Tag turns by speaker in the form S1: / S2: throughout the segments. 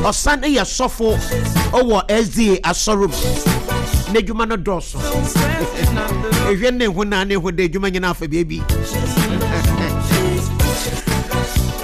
S1: Ɔsan yɛ sɔfo wɔ SDA asɔre mu. N'adwuma no dɔɔso. Ehwɛ ne ho na ne ho de adwuma nyinaa afa baabi.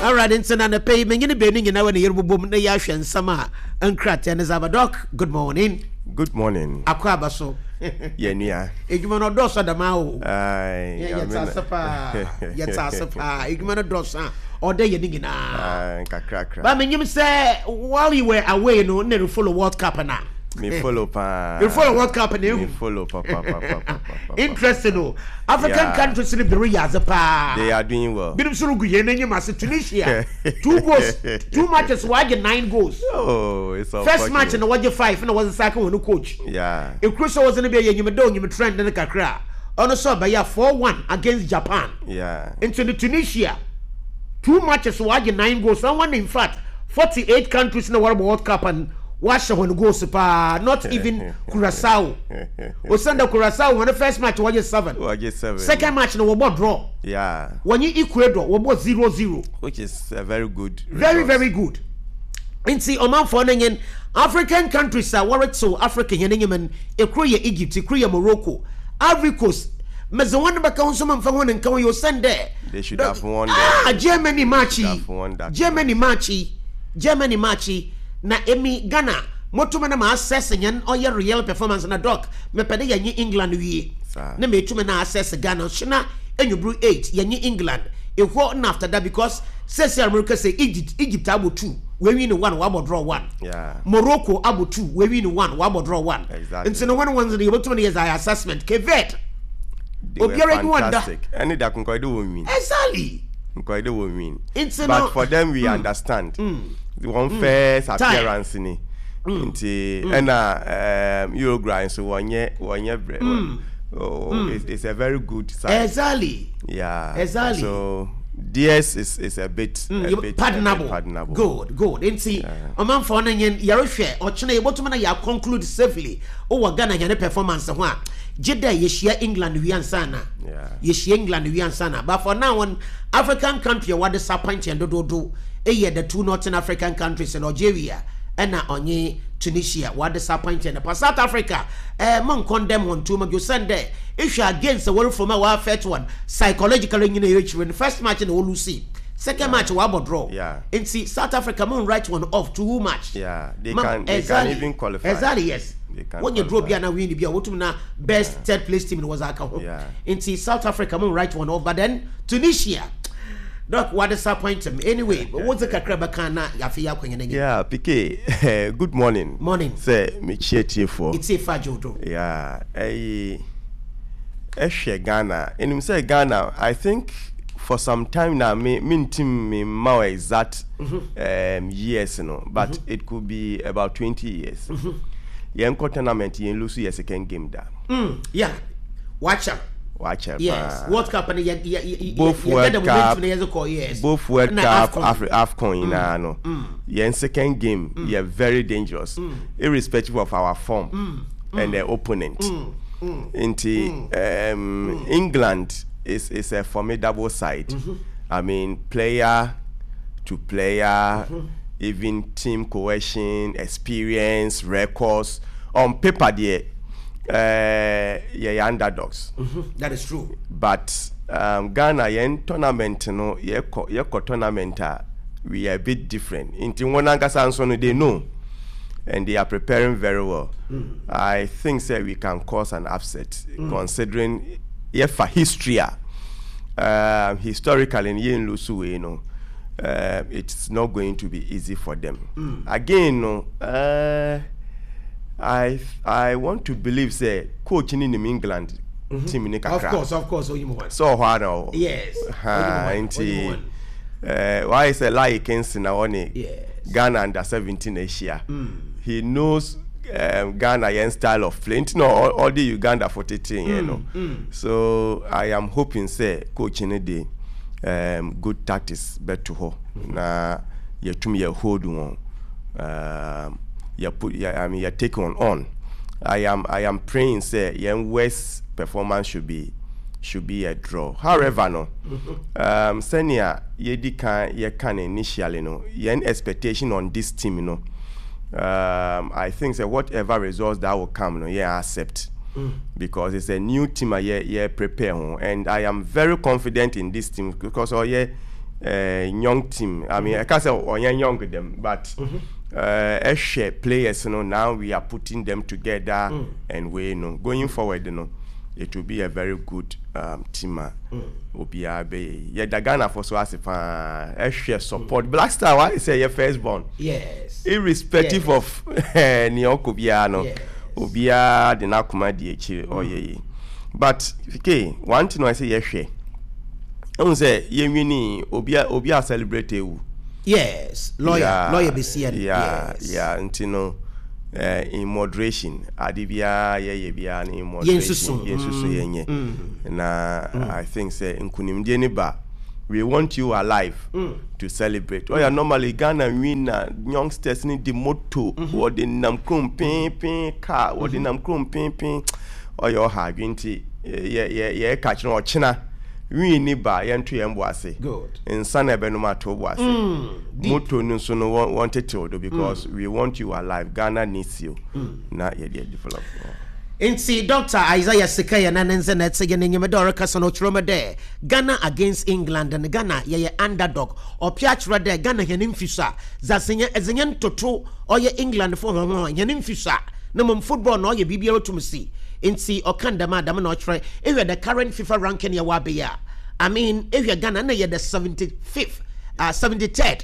S1: Alright, nti na anɔpa yi menye ne baanu nyinaa wɔ ne yere bobom na yɛahwɛ nsɛm a nkrataa ne zaba. Doc, good morning.
S2: Good morning.
S1: Akɔ aba so.
S2: Yɛ nua.
S1: Edwuma no ɔdɔɔso adamaa o. Yɛte ase paa. Yɛte ase paa. Edwuma no dɔɔso a ɔdɛ yɛ ne nyinaa.
S2: Nkakrakra.
S1: Ba menyim sɛ while you were away no na refollow World Cup na.
S2: Me follow paa.
S1: Me follow World Cup na ehu.
S2: Me follow pa pa pa pa pa.
S1: Interesting o. African countries no bi reyɛ adze paa.
S2: They are doing well.
S1: Binom nso regu hɛn enyim ase. Tunisia, 2 goals, 2 matches wɔagye 9 goals.
S2: Oh, it's
S1: First match no wɔgye 5 na wɔdze sack hɔn coach.
S2: Yeah.
S1: Ekuro sɛ wɔdze no bi yɛ nyim dɛ onyim trend no kakra a, ɔno nso ɔbɛyɛ 4-1 against Japan.
S2: Yeah.
S1: Nti no Tunisia, 2 matches wɔagye 9 goals. Na wɔn in fact 48 countries na wɔrebɔ World Cup and wɔahyɛ hɔn goals paa. Not even Curacao. Osiandɛ Curacao hɔn first match wɔgye 7.
S2: Wɔgye 7.
S1: Second match no wɔbɔ draw.
S2: Yeah.
S1: Wɔnye Ecuador wɔbɔ 0-0.
S2: Which is a very good
S1: Very
S2: result.
S1: very good. Nti ɔmanfoɔ no nyen African countries a wɔretsew Africa hɛn enyim no, ekor yɛ Egypt, ekor yɛ Morocco, Ivory Coast, medze hɔn bɛka ho nso memmfa hɔn nnka ho yi osiandɛ
S2: They should have won the,
S1: ah Germany
S2: they
S1: match
S2: should
S1: yi,
S2: have won that
S1: Germany
S2: match.
S1: match yi, Germany match yi, na emi Ghana motum na ma assess hɛn ɔyɛ real performance na doc mepɛ dɛ yɛnye England wie
S2: Saa.
S1: na meetum na assess Ghana nso na enyimber 8 yɛnye England ehɔ na after that because Sɛsi a merekasa yi Egypt Egypt abɔ 2 w'awini 1 w'abɔ draw 1
S2: Yeah.
S1: Morocco abɔ 2 w'awini 1 w'abɔ draw 1
S2: Exactly.
S1: Nti no wɔn wɔn no yɛbɛtumi no yɛ dza assessment Cape Verde
S2: They were
S1: obiara enyi wɔn da
S2: fantastic. Ɛne da nkɔyɛ de wɔn win.
S1: Exactly.
S2: Nkɔyɛ de wɔn win.
S1: Nti
S2: But
S1: no
S2: for them we understand. Wɔn first
S1: Time.
S2: appearance ni. Nti ɛna Uruguay nso wɔnyɛ wɔnyɛ brɛ. Oh, it's a very good side.
S1: Exactly.
S2: Yeah.
S1: Exactly.
S2: So theirs is a bit a bit a bit
S1: Pardonable.
S2: pardonable.
S1: Good, good. Nti ɔmanfoɔ no nye yɛrehwɛ ɔkyena yɛbɛtumi na yɛ conclude safely wɔ Ghana hɛn performance ho a gye dɛ yɛhyia England wie ansa na yɛhyia England wie ansa na but for now on African country a wɔadisappoint yɛn dodoodo yɛ the two Northern African countries no Algeria ɛna ɔnye Tunisia wɔadisappoint yɛn pa South Africa eh mo nkɔndɛm hɔn too much osiandɛ ehwɛ a games a wɔrefom a wɔ affect hɔn psychologically nyina ekyir no first match na wɔlose second match wɔabɔ draw
S2: Yeah.
S1: nti South Africa mo write wɔn off too much.
S2: Yeah, they
S1: Ma
S2: can they can
S1: exactly
S2: even qualify.
S1: exactly yes
S2: They can
S1: wɔnyɛ draw bi
S2: qualify.
S1: a na win bi a wɔtum na best third place team no wɔdze aka ho
S2: Yeah.
S1: nti South Africa mo write wɔn off but then Tunisia Doc wa disappoint me anyway wɔdze kakra bɛka na afei akɔnyɛ n'enyim.
S2: Yeah, PK, good morning.
S1: Morning.
S2: Sɛ mekyia tiefoɔ.
S1: Etie fa dwoodwo.
S2: Yeah, ɛyi ɛhwɛ Ghana. Enim sɛ Ghana, I think for some time now me mentim me mma wo exact years no, but it could be about 20 years. Yɛn kɔ tournament yɛn lose yɛ second game da.
S1: Yeah, wakyɛ.
S2: Wakyɛ
S1: Yes,
S2: paa.
S1: World Cup no yɛ yɛ yɛ
S2: Both
S1: yɛ
S2: World
S1: get the momentum
S2: Cup,
S1: na yɛdze kɔ yes.
S2: both World
S1: Na
S2: Cup,
S1: AFCON.
S2: Afri AFCON nyinaa no, yɛn second game yɛ very dangerous, irrespective of our form and the opponent. Nti England is a formidable side. I mean, player to player, even team cohesion, experience, records. On paper, deɛ, yɛyɛ underdogs.
S1: That is true.
S2: But Ghana yɛn tournament no yɛkɔ yɛkɔ tournament a we are a bit different. Nti wɔn ankasa nso no they know and they are preparing very well. I think say we can cause an upset considering yɛfa history a historically no yɛn lose wei no it's not going to be easy for them. Again no I want to believe say coach ni nim England team ni kakra.
S1: Of course, onyim wɔn.
S2: Sɛ ɔhɔ ara na ɔwɔ.
S1: Yes.
S2: Ha,
S1: onyim wɔn,
S2: nti
S1: onyim wɔn.
S2: wayɛ sɛ Laryea Kingston na ɔne
S1: Yes.
S2: Ghana under 17 ahyia. He knows Ghana yɛn style of play nti na ɔde Uganda fo tete yɛn no. So I am hoping sɛ coach no de good tactics bɛto hɔ na yɛtum yɛ hold wɔn. Yɛ put yɛ, I mean yɛ take on. I am praying sɛ yɛn worst performance should be a draw. However no, sɛnea yɛdi kan yɛka no initially no, yɛn expectation on this team no I think sɛ whatever results that will come no yɛn accept because it's a new team a yɛ yɛ prepare ho and I am very confident in this team because ɔyɛ uh, young team. I mean ɛka sɛ ɔyɛ young dem but ɛhwɛ players no now we are putting them together and we no going forward no it will be a very good team a obiara bɛyɛ yi. Yɛda Ghana fo so ase paa ɛhwɛ support Black Star wayɛ sɛ yɛ first born.
S1: Yes.
S2: Irrespective of nea ɔkɔ biara no obiara de n'akoma di akyire ɔyɛ yi. But ke one thing ɔyɛ sɛ yɛhwɛ ɛhu sɛ yɛnwini obi a obi a celebrate ewu.
S1: Yes, lawyer, yeah, lawyer bɛsi
S2: ɛno. Yeah, yes. Yeah, nti no in moderation ade biara yɛyɛ biara no in moderation yɛnsusu yɛnyɛ na I think sɛ nkunimdie ne ba we want you alive to celebrate. Oh yeah, normally Ghana win na youngsters ni di moto wɔde nam kurom pin car wɔde nam kurom pin ɔyɛ ɔha adwene nti yɛ yɛ yɛ ka kyerɛ ɔkyena win ni ba yɛnto yɛn bo ase nsa na ɛbɛnom ato bo ase moto no nso no wɔn tetew do because we want you alive. Ghana needs you na yɛde develop.
S1: Nti Dr. Isaiah Sikaya na ne nze na ɛte yɛ n'enyim dɛ ɔrekasa no ɔkyerɛ mu dɛ Ghana against England no Ghana yɛyɛ underdog. Ɔpɛ akyerɛ dɛ Ghana hɛn mfi so a dza sɛ yɛn ɛdze yɛn toto ɔyɛ England fo hɔn ho a hɛn mfi so a na mbom football na ɔyɛ biribiara otum si nti ɔka no dɛm a dɛm na ɔkyerɛ. Ehwɛ the current FIFA ranking yɛwɔ aber yi a I mean ehwɛ Ghana nna yɛ the 75th 73rd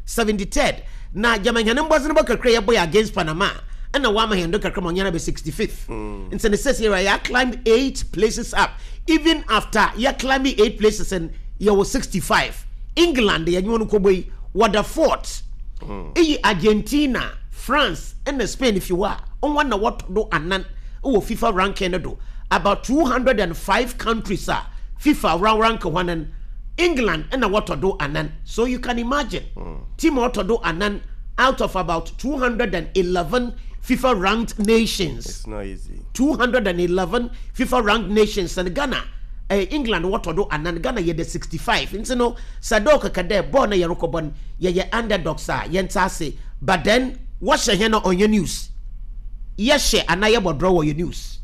S1: 73rd na gyama hɛn mbɔdzen bɔ kakra yɛbɔe against Panama a nna wɔama hɛn do kakra ma ɔnnyɛ abɛ 65th ntsi ne seseiara yɛ climb 8 places up. Even after yɛ climbing 8 places no yɛwɔ 65. England yɛnye hɔn kɔbɔ yi wɔda fourth. Iyi Argentina, France na Spain fi hɔ a hɔn na wɔtɔ do anan wɔ FIFA ranking no do. About 205 countries a FIFA rank hɔn no, England na wɔtɔ do anan. So you can imagine team a ɔtɔ do anan out of about 211 FIFA ranked nations.
S2: It's not easy.
S1: 211 FIFA ranked nations no Ghana eh, England wɔtɔ do anan, Ghana yɛ the 65. Nti no sɛ dɛ ɔkɛkɛ dɛ bɔɔl na yɛrokɔbɔ no yɛyɛ underdogs a yɛntse ase but then wɔhyɛ hɛn a ɔnnyɛ news. Yɛhyɛ anaa yɛbɔ draw ɔyɛ news.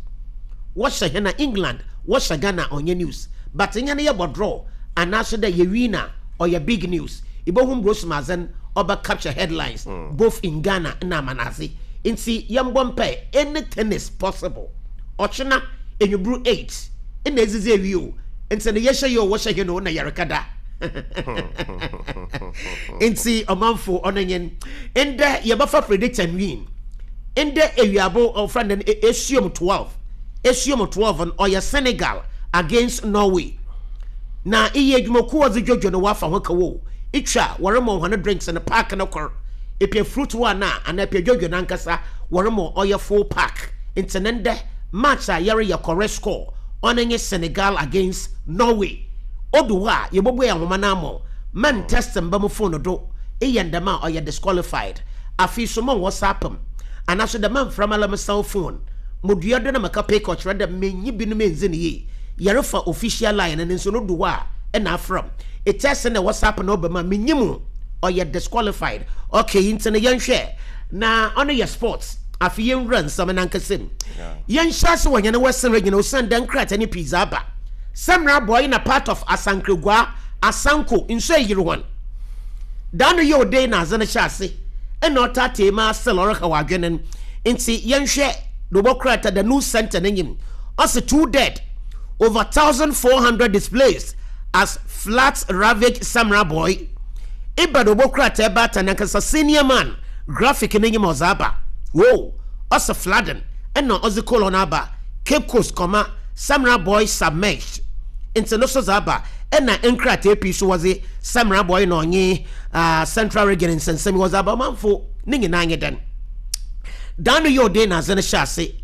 S1: Wɔhyɛ hɛn a England wɔhyɛ Ghana a ɔnnyɛ news but hɛn yɛbɔ draw anaa so dɛ yɛ win a ɔyɛ big news. Ibohu mbrɛ Osumadzen ɔbɛ capture headlines both in Ghana na amanadze. Ntsi yɛmbɔ mpae anything is possible. Ɔkyena enyibru 8 nna edzidzi ewie o, ntsi no yɛhyɛ yi o wɔhyɛ hen o nna yɛrekɛda. Ntsi ɔmanfo ɔno nye n'. Ndɛ yɛbɛfa predict and win. Ndɛ ewiabo wɔfrɛ no dɛn esuom 12, esuom 12 no ɔyɛ Senegal against Norway. Na iyi edwumakuw a ɔdze dwodwo no wɔafa ho kaw o, itwa a wɔrema hɔn drinks no pack no kor, epɛ fruit one a anaa epɛ dwodwo no ankasa wɔrema ɔyɛ full pack. Ntsi no ndɛ match a yɛreyɛ correct score ɔno nye Senegal against Norway. Odu hɔ a yebobue ahoma no ama wo, man test mmba mo phone do, eyɛ no dɛm a ɔyɛ disqualified. Afei so mo WhatsApp m' anaa so dɛ mannfrɛ mara me cell phone, modua do na meka pick ɔkyerɛ dɛ menye binom enndzi no yie. Yɛrefa official line no nso no du hɔ a nna afrɛ m'. Etest na WhatsApp na ɔba mu a minyim o, ɔyɛ disqualified. Okay ntsi no yɛnhwɛ na ɔno yɛ sports. Afei yɛnwura nsɛm no ankasa mu. Yɛnhyɛ ase wɔ hɛn Western Region osiandɛ nkrataa no pii dze aba. Samira Boy na part of Asankragua, Asanko, nsu eyir hɔn. Da no yɛ odei na adze no hyɛ ase nna ɔtaatae mu ara still ɔrehaw adwen no ntsi yɛnhwɛ do wɔ krataa The News Centre n'enyim. Ɔse two dead, over 1,400 displaced as floods ravage Samira Boy. Eba do wɔ krataa baatan nankasa senior man Graphic n'enyim ɔdze aba. Whoa! Ɔse flooding nna ɔdze colon aba Cape Coast comma Samira Boy submerged ntsi no so dze aba nna nkrataa pii so wɔdze Samira Boy na ɔnye Central Region nsɛnsɛm yi wɔdze aba. Ɔmanfo ne nyinaa nye dɛn? Da no yɛ ɔden na adze no hyɛ ase.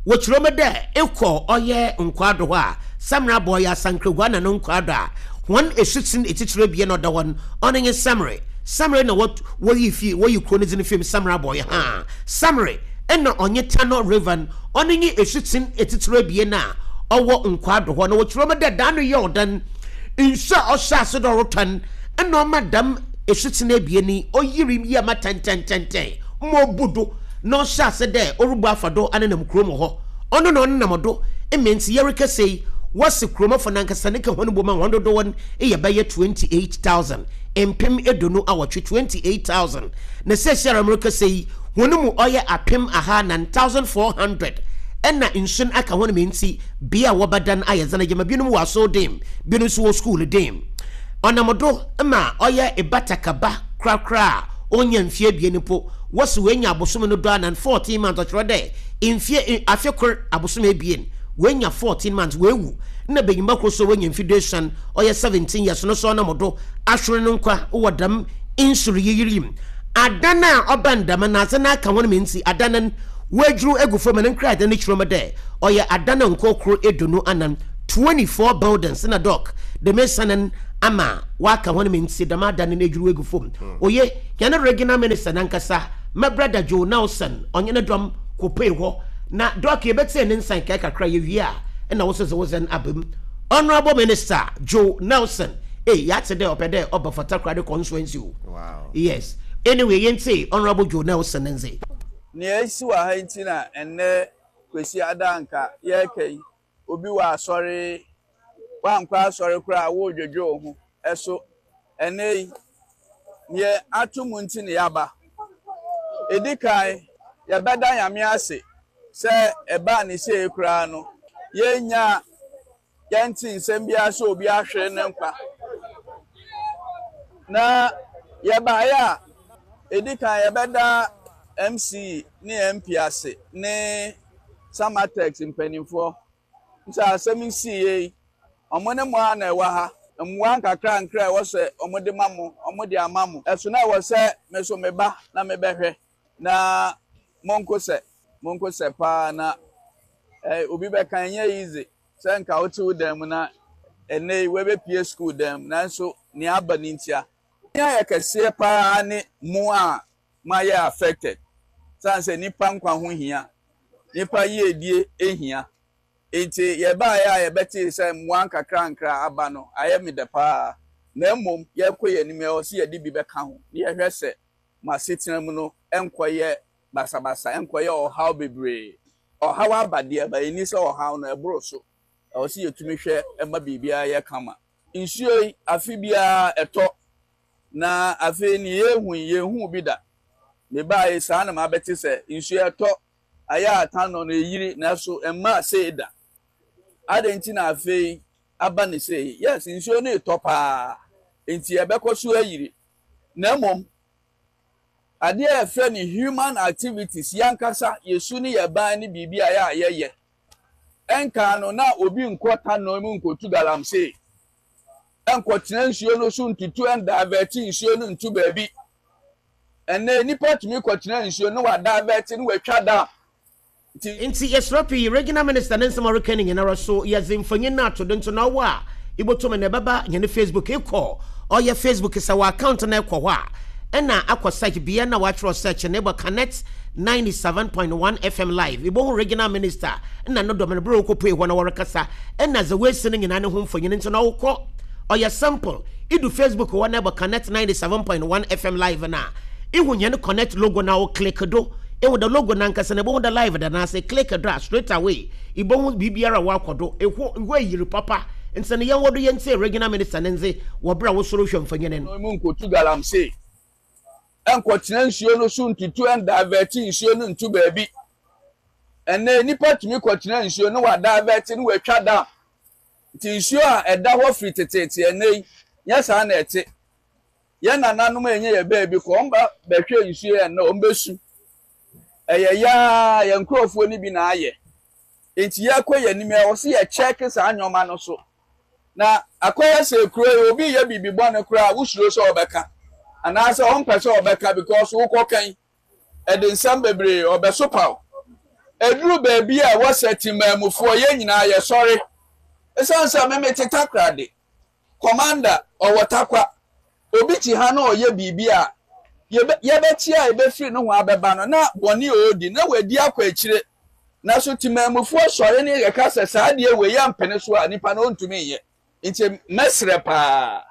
S1: Wɔkyerɛ mu dɛ ekɔ ɔyɛ Nkwado hɔ a Samira Boy Asankragua na no Nkwado a hɔn esutsen etsitsir ebien na ɔda hɔ no ɔno nye Samre. Samre na wɔ Woyi fi woyi kuro no dzin fi mu Samra bɔe haa. Samre nna ɔnye Tano River no, ɔno nye esutsen etsitsir ebien a ɔwɔ Nkwado hɔ. Na wɔkyerɛ mu dɛ da no yɛ ɔdan nsu a ɔhyɛɛ ase dɛ ɔrotɔ no nna ɔma dɛm esutsen ebien yi oyirii yie ma tɛntɛntɛntɛn. ma obu do na ɔhyɛ ase dɛ orubu afa do anenam kurow mu hɔ. Ɔno na ɔnenam do ma ntsi yɛrekasa yi, wɔse kuromafo nankasa ne ka hɔn bɔ mu a hɔn dodow no yɛ bɛyɛ 28,000, mpem eduonu awɔtwe, 28,000. Na seseiara merekasa yi, hɔn mu ɔyɛ 4,000, 1,400, na nsu no aka hɔn ma ntsi bea a wɔbɛda no ayɛ dzen gyama binom wɔ asɔrdan mu, binom so wɔ skuul dan mu. Ɔnam do ma ɔyɛ ebatakaba korakora a onnya mfe ebien mpo, wɔse oenya abosoom no duanan, 14 months, ɔkyerɛ dɛ mfe afe kor abosoom ebien, oenya 14 months, oewu. Nna banyimba kor so a oenya mfe duesuon, ɔyɛ 17 years no so ɔnam do ahwer no nkwa wɔ dɛm nsuryiyir yi mu. Adan a ɔbɛn dɛm no, adze no aka hɔn ma ntsi adan no woedwuruw egu famu na nkrataa no kyerɛ mu dɛ ɔyɛ adan nkorkor eduonu anan, 24 buildings, na dɔk dɛm esian no ama wɔaka hɔn ma ntsi dɛm adan no edwuruw egu famu. Oye, hɛn Regional Minister nankasa, me brɛda Joe Nelson, ɔnye no dɔm kɔpuee hɔ na dɔk yebetsie ne nsa nkae kakra yewie a nna wo so dze wo dzen aba mu. Honourable Minister Joe Nelson, ei yɛatse dɛ ɔpɛ dɛ ɔba for Takoradi constituency o.
S2: Wow.
S1: Yes. Anyway, yɛntsie Honourable Joe Nelson ne ndze.
S3: Nea asi wɔ ha yi nti na ɛnnɛ Kwasiada a anka yɛreka yi, obi wɔ asɔre, woankɔ asɔre koraa a woredwedwe wo ho. Ɛso ɛnnɛ yi, nea ato mu nti na yɛaba. Edi kan, yɛbɛda Nyame ase sɛ ɛbaa ne sei koraa no, yɛnnya yɛnte nsɛm biara sɛ obi ahwere ne nkwa. Na yɛbaeɛ a, edi kan yɛbɛda MC ne MP ase ne Samatex mpanimfoɔ sɛ asɛm yi siiɛ yi, wɔn ne mo ara na ɛwɔ ha. Mmoa nkakrankra a ɛwɔ sɛ wɔde ma mo, wɔde ama mo. Ɛso na ɛwɔ sɛ me nso meba na mebɛhwɛ. Na monko sɛ, monko sɛ paa na eh, obi bɛka ɛnyɛ easy sɛ nka wote wo dan mu na ɛnnɛ yi woabɛpue sukuu dan mu nanso nea aba no ntia. Nea yɛ kɛseɛ paa ne mo a moayɛ affected sane sɛ nnipa nkwa ho hia, nnipa yiedie hia. Enti yɛbaeɛ a yɛbɛtee sɛ mmoa nkakrankra aba no, ayɛ me dɛ paa. Na mmom yɛrekɔ yɛn anim, ɛwɔ sɛ yɛde bi bɛka ho na yɛhwɛ sɛ mo asetena mu no nkɔyɛ basabasa, ɛnkɔyɛ ɔhaw bebree. Ɔhaw aba deɛ, but ɛnni sɛ ɔhaw no ɛboro so. Ɛwɔ sɛ yɛtumi hwɛ ma biribiara yɛ kama. Nsuo yi, afe biara ɛtɔ, na afei nea yɛrehu yi, yɛnhuu bi da. Mebaeɛ yi, saa na mabɛte sɛ nsuo ɛtɔ, ayɛ a tanɔ no ɛyiri, nanso ɛmmaa sei da. Adɛn nti na afei aba no sei? Yes, nsuo no retɔ paa, enti ɛbɛkɔ so ayiri. Na mmom, adeɛ a yɛfrɛ no human activities, yɛn ankasa yɛn su ne yɛn ban ne biribi a ɛyɛ a yɛyɛ. Ɛnkan no, na obi nkɔ tanɔ mu nkɔtu galamsey, ɛnkɔtena nsuo no so ntutu, ɛndavɛte nsuo no ntu baabi. Ɛnnɛ, nnipa tumi kɔtena nsuo no na wɔadavɛte na wɔatwa dam. Nti.
S1: Ntsi yɛserɛ pii, Regional Minister ne nsɛm a ɔrekã no nyinara so, yɛdze mfonyin no ato do ntsi na ɔwɔ a ibotum na ebɛba hɛn Facebook, ekɔ ɔyɛ Facebook sɛ wɔ account no ekɔ hɔ a nna akɔ search bea no a wɔakyerɛw search no ebɔ Connect 97.1 FM live ibohu Regional Minister na no dɔm no ber a wokopue hɔ na wɔrekasa nna dza woesi no nyinaa no ho mfonyin ntsi na ɔwokɔ ɔyɛ simple idu Facebook hɔ na ebɔ Connect 97.1 FM live no a ihu hɛn Connect logo no a wo click do. Ehu dɛ logo nankasa no ebohu dɛ live da n'ase, click do a straight away ibohu biribiara a ɔakɔ do, ehɔ ehɔ eyir papa, ntsi no yɛnwɔ do yɛntsie Regional Minister ne ndze wɔ ber a wo so rohwɛ mfonyin no.
S3: No mu nkotu galamsey, nkɔtena nsuo no so ntutu ndivɛte nsuo no nto baabi. Ɛnnɛ nnipa tumi kɔtena nsuo no wɔadivɛte no wɔatwa dam. Nti nsuo a ɛda hɔ firi teteete ɛnnɛ yi, nyɛ saa na ɛte. Yɛn nananom a ɛnyɛ yɛn baabi kɔ, wɔn ba bɛhwɛ nsuo yɛn na wɔn bɛsu. Ɛyɛ yaa yɛn nkurɔfoɔ no bi na ayɛ. Nti yɛkɔ yɛn anim ɛwɔ sɛ yɛkyɛke saa nneɛma no so. Na akɔyɛ sɛ kuro yi obi yɛ biribi bɔne koraa wosuro sɛ ɔbɛka anaasɛ ɔmpɛ sɛ ɔbɛka because wokɔkan ɛde nsɛm bebree ɔbɛsopa wo. Ɛduru baabi a ɛwɔ sɛ temaamufoɔ yɛn nyinaa yɛsɔre. Ɛsiane sɛ me mete Takoradi Commander, ɔwɔ Tarkwa. Obi te ha na ɔyɛ biribi a, yɛbɛ, yɛbɛte a ɛbɛfiri nohoa bɛba no, na bɔne a ɔredi, na wadi akɔ akyire. Na so temanmufoɔ sɔre ne yɛka sɛ saa adeɛ wei yɛmpene so a, nipa no ɔntumi nyɛ. Nti mɛsrɛ paa,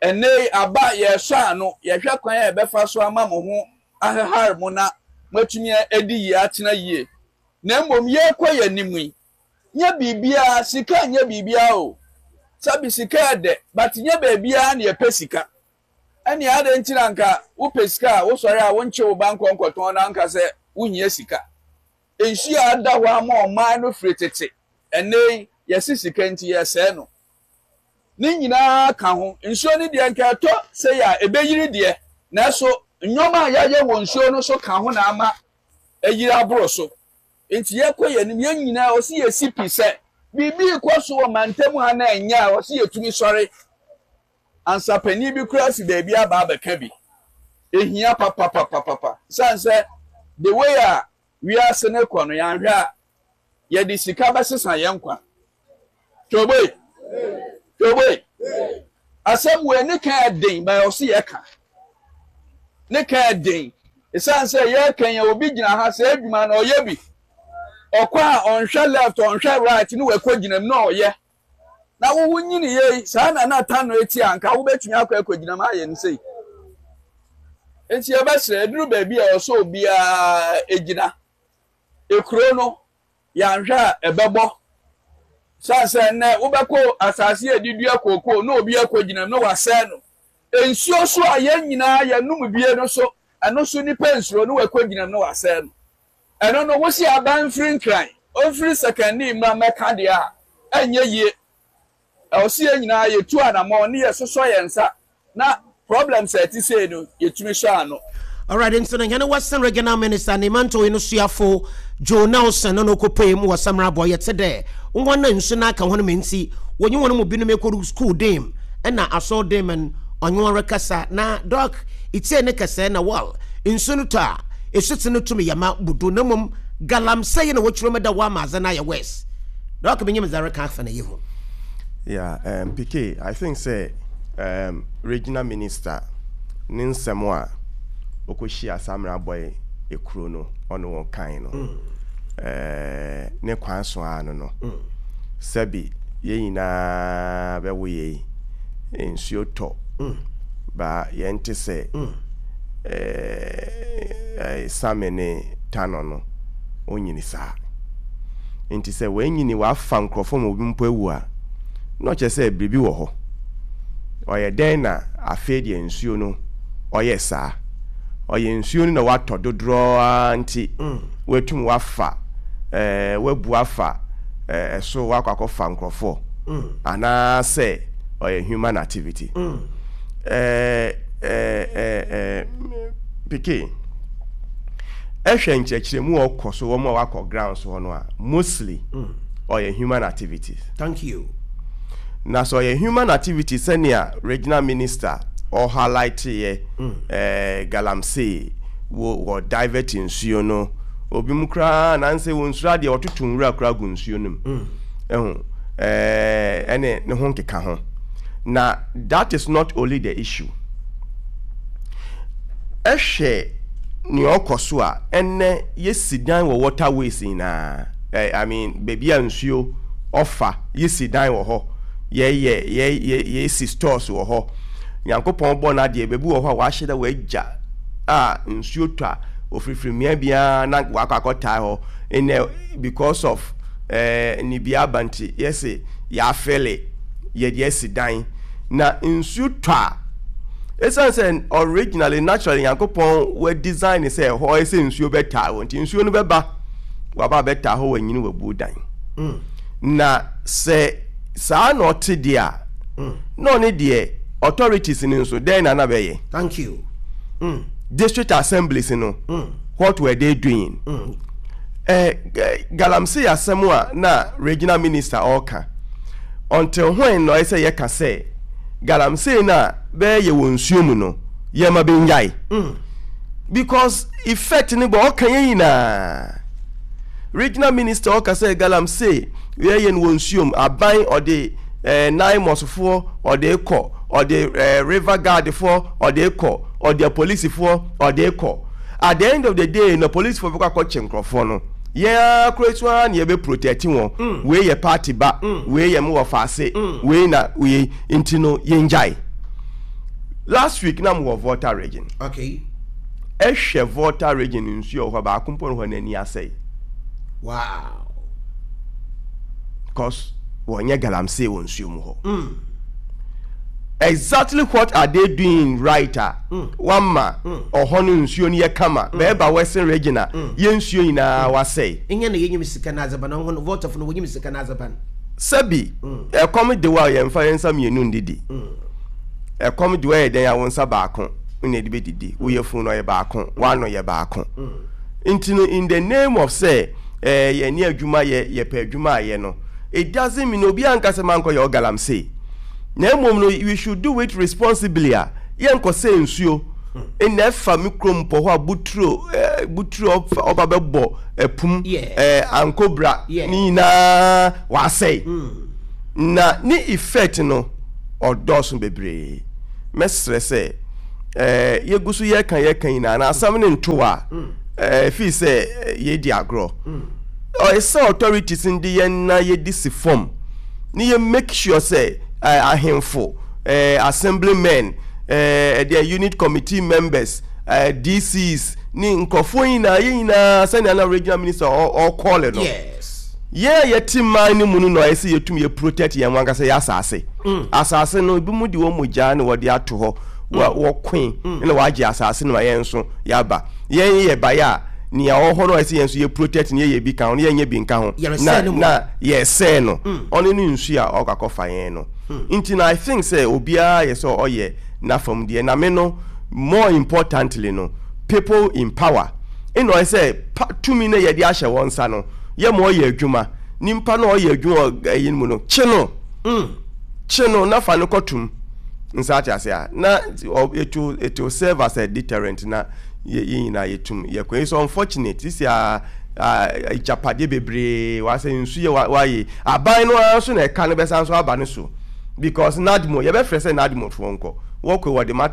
S3: ɛnnɛ yi aba, yɛresɔ ano, yɛhwɛ kwan a yɛbɛfa so ama mo ho ahehare mo na. moatumi adi yie atena yie. Na mmom yɛrekɔ yɛn anim yi, nyɛ biribiara, sika nyɛ biribiara o. Sɛbi sika yɛ dɛ, but nyɛ baabiara na yɛpɛ sika. Ɛnneɛ adɛn nti na anka wopɛ sika a wosɔre a wonkye wo ba nkɔ nkɔtɔn na anka sɛ wohia sika? Nsuo a ada hɔ ama ɔman no firi tete, ɛnnɛ yi yɛse sika nti yɛresɛe no. Ne nyinaa ka ho. Nsuo no deɛ nka ɛtɔ sei a ɛbɛyiri deɛ, nanso nneɛma a yɛayɛ wɔ nsuo no so ka ho na ama ayiri aboro so. Nti yɛkɔ yɛn anim, yɛn nyinaa ɔse yɛsi pi sɛ biribi rekɔ so wɔ mantam ha na ɛnyɛ a ɔse yɛtumi sɔre. Ansa panin bi koraa fi baabi aba abɛka bi. Ehia papapapapa. Esiane sɛ the way a wiase no kɔ no, yɛanhwɛ a, yɛde sika bɛsesa yɛn nkwa. Twoboe! Twoboe! Asɛm wei ne ka ɛden, but ɔse yɛka. Ne ka ɛden. Esiane sɛ yɛka yɛn obi gyina ha sɛ adwuma no ɔyɛ bi. Ɔkɔ a ɔnhwɛ left, ɔnhwɛ right ne wakɔ gyina mu na ɔyɛ. Na wo wo nyini yei, saa na na Tano eti a anka wobɛtumi akɔ akɔgyina mu ayɛ no sei. Nti yɛbɛsrɛ, ɛduru baabi a ɛwɔ sɛ obiara gyina. Ekuro no, yɛanhwɛ a ɛbɛbɔ. Sane sɛ nnɛ wobɛkɔ asase a yɛde dua kookoo na obi akɔgyina mu na wasɛe no. Nsuo so a yɛn nyinaa yɛnom bie no so, ɛno so nnipa nsuro na wakɔgyina mu na wasɛe no. Ɛno no, wose aban mfiri Nkran, ɔmfiri Sekandi mmra mmɛka deɛ a, ɛnyɛ yie. Ɛwɔ sɛ yɛn nyinaa yɛtu anamɔn ne yɛsosɔ yɛn nsa na problems a ɛte sei no, yɛtumi sɔ ano.
S1: Alright, nti no hɛn Western Regional Minister ne mantɔw yi no suafo Joe Nelson no na okopuei mu wɔ Samrabɔ. Yɛtse dɛ hɔn a nsu no aka hɔn ma ntsi wɔnye hɔn mu binom ekodu skuul dan mu na asɔr dan mu no ɔnye hɔn rekasa. Na Doc, itsie ne kɛsɛɛ na well, nsu no tɔ a, Esutsen no tum yɛ ma bu do na mbom galamsey na wɔkyerɛ mu dɛ wɔama adze no ayɛ worse. Doc minyim dza ereka afa no yi ho.
S2: Yeah, um, PK, I think sɛ um, regional minister ne nsɛm a ɔkɔhyia Samina Boy ekuro no ɔne wɔn kan no mm. eh, ne kwan so ara no no mm. sɛbi yɛn nyinaa bɛwo yei nsuo tɔ mm. ba yɛn te sɛ mm. eh, Same ne Tano no, ɔnyini saa. Nti sɛ wanyini wafa nkurɔfoɔ ma obi mpo awu a, na ɔkyerɛ sɛ biribi wɔ hɔ. Ɔyɛ dɛn na afei deɛ nsuo no ɔyɛ saa? Ɔyɛ nsuo no na watɔ dodoɔ ara nti watum wafa, eh, wabu afa eh, ɛso wakɔ akɔfa nkurɔfoɔ anaasɛ ɔyɛ human activity. Eh, eh, eh, eh, Peke, ɛhwɛ nkyerɛkyerɛmu a ɔkɔ so wɔn a wakɔ ground so hɔ no a, mostly ɔyɛ human activities.
S1: Thank you.
S2: Na sɛ ɔyɛ human activities sɛnea regional minister ɔ highlight yɛ eh, galamsey wo wɔ divert nsuo no, obi mu koraa nansɛ wɔn nsuro adeɛ wɔtoto nwura koraa gu nsuo no mu. Ɛho eh, ɛne ne ho nkeka ho. Na that is not only the issue. Ɛhwɛ nea ɔkɔ so a, ɛnnɛ yɛsi dan wɔ water ways nyinaa. Eh, I mean, baabi a nsuo ɔfa, yɛsi dan wɔ hɔ. Yɛyɛ, yɛ, yɛ, yɛsi stores wɔ hɔ. Nyankopɔn bɔ n'adeɛ, baabi wɔ hɔ a wɔahyɛ da wɔagya a nsuo tɔ a, ofirifiri mmea biara na wakɔ akɔtae hɔ. Ɛnnɛ, because of eh, nibia aba nti, yɛse yɛafele. Yɛde asi dan. Na nsu tɔ a, esiane sɛ originally, naturally Nyankopɔn wa design sɛ ɛhɔ ayɛ sɛ nsuo bɛtaa hɔ nti, nsuo no bɛba, waba abɛtaa hɔ, wanyini wabuo dan. Mm. Na sɛ saa na ɔte deɛ a, mm. na ɔne deɛ authorities no nso dɛn na na bɛyɛ?
S1: Thank you.
S2: Mm. District assemblies no, mm. what were they doing? Mm. Eh, galamsey asɛm a na regional minister ɔreka Until when na ɔyɛ sɛ yɛka sɛ galamsey no a bɛyɛ yɛ wɔ nsuo mu no yɛma bɛnyae? Because effect no bɔ ɔka yɛn nyinaa. Regional minister ɔka sɛ galamsey yɛyɛ no wɔ nsuo mu, aban ɔde eh, NAIMOS foɔ ɔde kɔ, ɔde eh, river guard foɔ ɔde kɔ, ɔde apolisifoɔ ɔde kɔ. At the end of the day no apolisifoɔ bɛkɔ akɔkye nkorɔfoɔ no. Yɛn ara koraa su ara na yɛbɛ protect wɔn. Wei yɛ party ba, wei yɛ mo wɔfaase, wei na wei nti no yɛngyae. Last week na mowɔ Volta region.
S1: Okay.
S2: Ɛhwɛ Volta Region nsuo a ɛwɔ hɔ a, baako mpo wɔ hɔ a n'ani asɛe.
S1: Wow.
S2: Because wɔnyɛ galamsey wɔ nsuo mu hɔ. Mm. Exactly what are they doing right a mm. wama mm. ɔhɔ no nsuo no yɛ kama mm. bɛɛba Western Region a mm. yɛ nsuo nyinaa mm. wasɛe.
S1: Nyɛ na yɛnyim sika no adzeban ɔho no Voltafo no wɔnyim sika no adzeban.
S2: Sɛbi mm. ɛkɔm de wa yɛmfa yɛn nsa mmienu ndidi. Mm. Ɛkɔm de wa yɛ dɛn a wo nsa baako na ɛde bɛdidi. Wo yafunu no ɔyɛ baako, w'ano yɛ baako. Nti no in the name of sɛ eh, yɛne adwuma yɛ, yɛpɛ adwuma ayɛ no, it doesn't mean obiara nka sɛ mankɔ yɛ ɔgalamsey. Na mmom no we should do it responsibly a yɛnkɔsɛe nsuo. Nna ɛfa me kurom pɔ hɔ a buturo eh, buturo ɔba bɛbɔ ɛpum eh, ankobra ne nyinaa wasɛe. Na ne effect no ɔdɔɔso bebree. Mɛsrɛ sɛ eh, yɛgu so yɛka yɛka nyinaa na asɛm no nto a eh, fii sɛ yɛdi agorɔ. Ɔyɛ sɛ authorities no de yɛn na yɛdi si fam ne yɛ make sure sɛ eh, ahemfo, eh, assemblymen, eh, ɛdeɛ unit committee members, eh, DCs ne nkurɔfoɔ nyinaa yɛn nyinaa sɛnea na regional minister ɔkɔɔle no.
S1: Yes.
S2: Yɛn a yɛte man no mu no na ɔyɛ sɛ yɛtum yɛ protect yɛn ankasa yɛ asase. Mm. Asase no ebi mu de wɔn mogya na wɔde ato hɔ mm. wɔkoe mm. na wɔagye asase no ma yɛn nso yɛaba. Yɛn yɛ baeɛ a nea ɔwɔ hɔ no ɔyɛ sɛ yɛn nso yɛ protect no yɛyɛ bi ka ho no yɛnyɛ bi nka ho na na yɛsɛɛ no mm. ɔno ne nsu a ɔkɔ akɔfa yɛn no. Mm. Nti na I think sɛ obiara yɛ sɛ ɔyɛ n'afam deɛ na me no more importantly no people in power ɛna ɔyɛ sɛ tumi no yɛde ahyɛ wɔn nsa no yɛ ma ɔyɛ adwuma nipa na ɔyɛ adwuma wɔ ɛyi no mu no kye no mm. kye no na fa no kɔtum nsa ate ase a na it will it will serve as a deterrent na yɛ yɛ nyinaa yɛtum yɛkɔ it's unfortunate sisi a agyapadeɛ bebree wasɛ nsu yɛ wayɛ aban no ara nso na ɛka no bɛsan so aba no so because nadmo yɛbɛfrɛ sɛ nadmo foɔ nkɔ wɔkɔ wɔde mattress.